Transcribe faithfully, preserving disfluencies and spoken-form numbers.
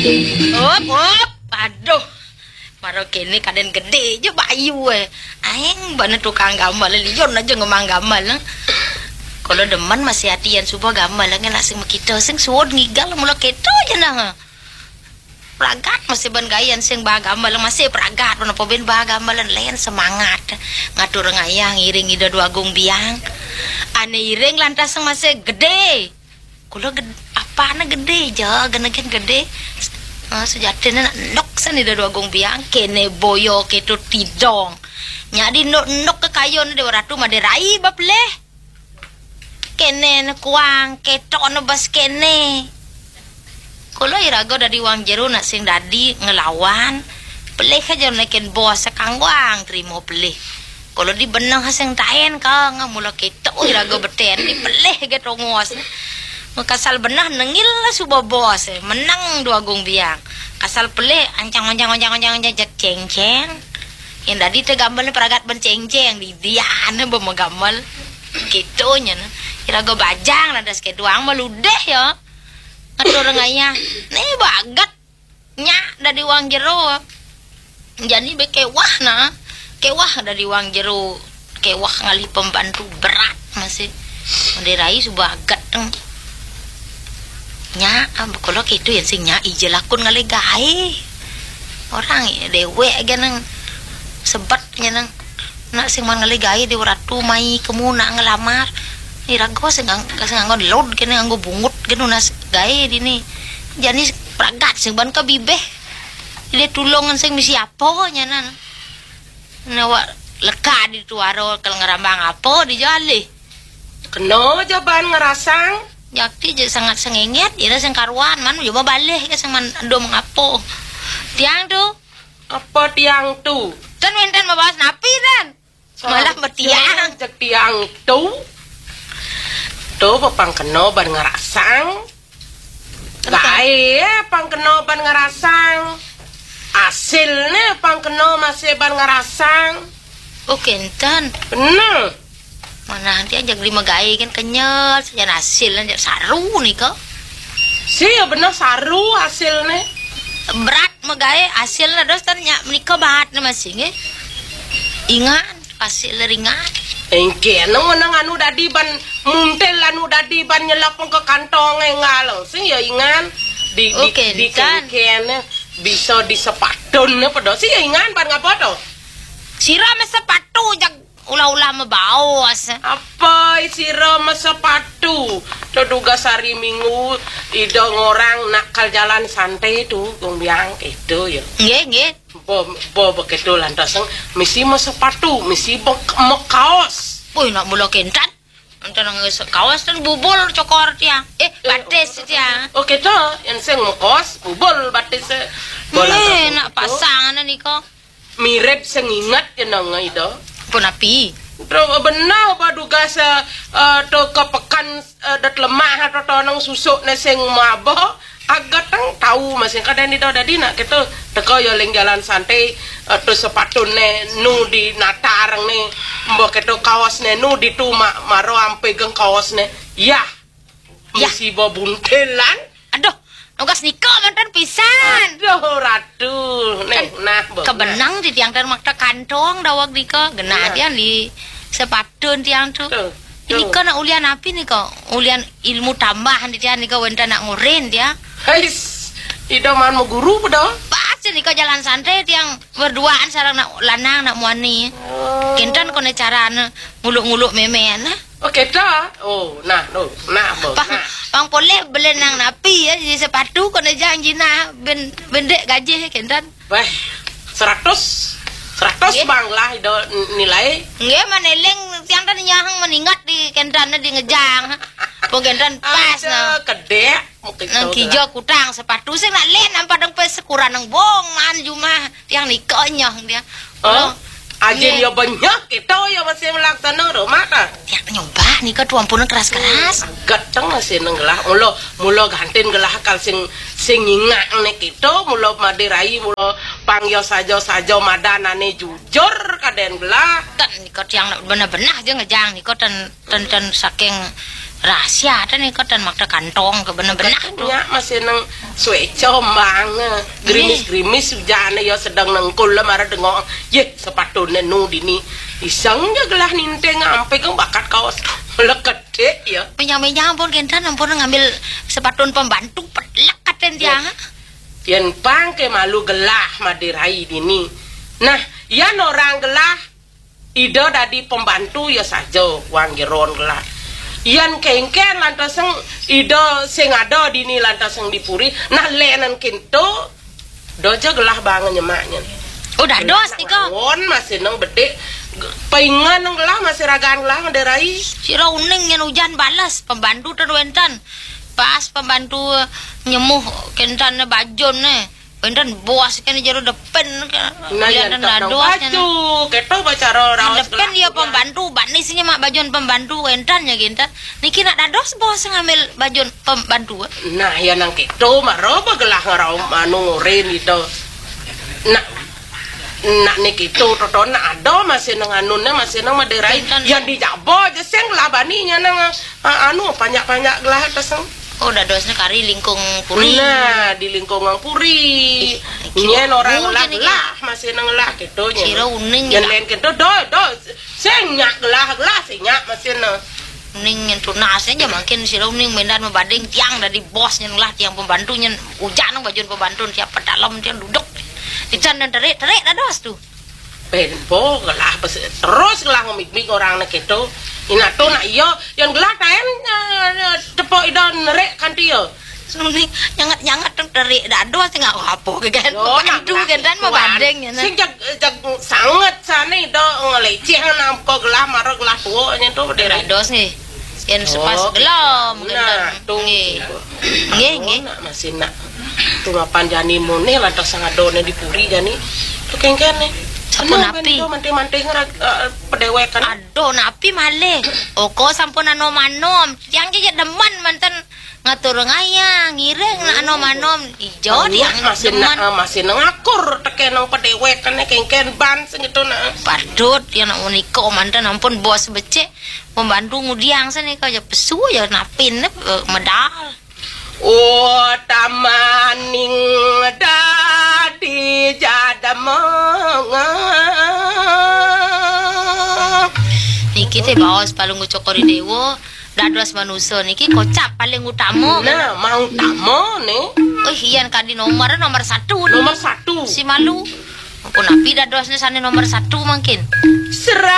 Op, op. Aduh. Mara kene kaden gede ja bayu, eh. Aeng bana tukang gambel, lion aja ngemang gambel, eh. Kala demen masih ati yan suba gambel, eh, nak sing makita, sing suud ngigal mula keto ja nah. Pragat masih ban gayan sing ba gambel, masih pragat, napa ben ba gambel, len semangat. Ngatur ngayah ngiring Ida Dwagung Biang. Ane iring lantas sing masih gede. Kula ged-, apane gede ja, genegen gede. Ah, sejatine nak enduk san Ida Dwagung Biang, kene boya keto tidong. Nya di enduk-enduk ke kayun Dewa Ratu made rai ba pelih. Kene ne kuang, keto ne bas kene. Kula iraga dadi wang jero nak sing dadi ngelawan. Pelih aja neken bos sekangguang trimo pelih. Kala di beneh sing taen ka, nga mula keto iraga beten di pelih ge tongos. Kasal beneh nengil suba bos, menang Dwagung Biang. Kasal pelih ancang, ancang, ancang, ancang, ancang, ceng, ceng. Yang dadi te gambel pragat ben ceng, ceng, di diane ba magambel. Keto nya ne. Iraga bajang lantas keduang meludeh ya. Ngatur ngayah. Ne bagat. Nya dadi wang jero. Jani be kewah nah. Kewah dadi wang jero. Kewah ngalih pembantu berat masih. Made rai suba aget teng. Nya, ah, kala keto yan sing nya ija lakun ngalih gae. Orang dewek ge nang sebet nya nang. Nak sing man ngalih gae Dewa Ratu mai kemu nak ngelamar. Iraga sing ngang-, sing nganggo lod kene nganggo bungut kene nunas gae dini. Jani pragat sing ban ka bibih. Ide tulungan sing misi apa nyanan. Nawa leka di tuara kal ngerambang apa di jali. Kena ja ban ngerasang. Jakti je sangat sengenget, ira sing karuan, man juma balih ke sing man endo mengapa. Tiang tu. Apa tiang tu? Ten wenten mabaos napi ten. Malah betiang. Cek tiang tu. Tu pepang kena ban ngerasang. Entah. Gae pang kena ban ngerasang. Asilne pang kena masih ban ngerasang. Oh, kenten. Bener. Mana nanti aja lima gae kan kenyal, sajan asil aja saru nika. Si ya bener saru asilne. Berat megae asilne dos tan nya menika baat ne masih nggih. Ingat asil ringan. Engke nang menang anu dadi ban muntil anu dadi ban nyelap ke kantong engal sing ya ingan di, oh, di, di kenten. Kengken bisa di sepatun apa do sing ya ingan ban ngapa to? Sira me sepatu jag ulah-ulah mebaos. Apa sira me sepatu? To dugas hari Minggu ida ngorang nak kal jalan santai tu gong biang itu ya. Nggih, nggih. Bo, bo begitu lantas misi me sepatu, misi be, me kaos. Woi, nak mula kentan. Enten nang se-, kaos ten bubul cokor tiang. Eh, eh, batis tiang. Oh, kita yang sing me kaos bubul batis. Bola eh, nak pasang nika. Mirip sing ingat ya nang ida. Pun api. Terus benar apa dugas eh, eh, tu ke pekan eh, dat lemah atau tonong susuk ne sing mabok. Agatang tau masing kadang ida dadi nak kita teka ya ling jalan santai eh, tu sepatune nu di natar ne mbok kita kaosne nu di tu ma-, maro ampe geng kaosne. Yah. Yah. Misi buntelan. Aduh, nugas nika mantan pisan. Aduh, ratu. Nih, kan nah, kebenang di tiang dan makta kantong dawag nika. Genah dia di sepatun tiang tu. Tuh. Nika nak ulian api nika? Ulian ilmu tambahan dia nika wenten nak ngurin dia. Hais, ida man mau guru pada? Pas nika jalan santai tiang berduaan sarang nak lanang nak muani. Oh. Kenten kone carane nguluk-nguluk memen. Oh, kita? Oh, nah, no, nah, bo, pang, nah. Pang poleh beli nang napi ya, di sepatu kone janji nah ben, bendek gaji kenten. Weh, seratus. Seratus nggih. Bang lah ida nilai. Nggih, maneling tiang tan nyahang meningat di kentan di ngejang. Pun kentan pas. Aja nah. Kedek. Nang kija kutang sepatu sing nak len nang padang pe sekuran nang bong man jumah tiang nika nyah dia. Oh, aja nggih. Dia banyak kita ya masih melaksana rumah kan. Tiang nyoba nika tu ampun keras-keras. Gateng masih nang gelah. Mula, mula gantin gelah kal sing, sing ingak ne kita, mula made rai, mula pang ya saja-saja madanane jujur kaden gelah. Tan nika tiang nak benah-benah je ngejang nika tan, tan, tan saking rahasia tan nika tan makta kantong ke benah-benah tu. Nya masih nang Suéca mang, grimis-grimis ujané ya sedeng nengkul lah mara dengok. Yéh, sepatuné nu dini. Iseng ja gelah ninting ampe kang bakat kaos leketik ya. Menyang-menyang ampun kénten ampun ngambil sepatun pembantu pelek katen tiang. Yén pang ké malu gelah Madé Rai dini. Nah, yén orang gelah Ida dadi pembantu ya saja, wang jeron gelah. Yén kéngkén lantaseng Ida sing ada dini lantaseng di puri, nah lenen kinto, da ja gelah bang nyemaknya. Oh, dados nika. Won masih nang bedik, paingan nang gelah masih ragaan gelah Madé Rai. Sira uning yén ujan bales, pembantu ten wénten. Pas pembantu nyemuh kénten bajun né. Wénten bos kan jero depen kan. Nah, ya, dados baju. Kéto bacara raos depen dia pembantu, bani sini mak bajun pembantu wénten ya ginta. Niki nak dados bos ngambil bajun pembantu. Nah, ya nang kéto mara bagelah ngarau anu ngurin gitu. Nak nak niki to toto nak ada masih nang anunnya masih nang Madé Rai. Yang dijaba aja sing lah baninya nang Ah, anu, panjak-panjak gelah atas. Oh, dadosnya kari lingkung puri. Nah, di lingkungan puri. Nyén orang lah, lah masih nang lah gitu nyén. Sira uning nyén lain gitu, do do. Sing nyak gelah, gelah sing nyak masih nang. Uning nyén tunasnya aja makin sira uning mendan mabading tiang dari bos nyén lah tiang pembantu nyén ujan nang bajun pembantu siapa dalam tiang duduk. Ican dan terik-terik dados tuh. Pénpo gelah terus gelah ngemik-mik orangné kéto. Inato nak iya, yang gelah kaén eh, tepuk ida nerik kanti ya. Suni nyangat-nyangat teng terik dados sing apa ke kan. Yo, nak gelah kéto. Sing jag jag sanget sané ida ngeleceh nang ko gelah mara gelah tua nyén to dados nggih. Yén sepas gelem. Nah, tuh. Nggih. Nggih, nggih. Nak masih nak. Tuh mapan jani mone lantas sangadone di puri jani. Tuh kéngkén né. Sampun napi? Manting-manting pedéwékan. Aduh, napi malih? Oko sampun anom-anom. Tiang jejak demen manten ngatur ngayah, ngiring nak anom-anom. Ijo tiang masih demen. Nak masih ngakur tekén nang pedéwékan né kéngkén ban sing itu nak. Padut yang nak menika manten ampun bos becik. Pembantu ngudiang sini kau aja pesu aja napin eh, medal. Utamaning dadi jademeng. Niki téh baos paling ucok kori dewa dados manusa niki kocap paling utama. Nah, mau utama nih. Oh, iya kadi nomor nomor satu nih. Nomor satu. Si malu. Ampun napi dadosnya sane nomor satu mangkin. Serah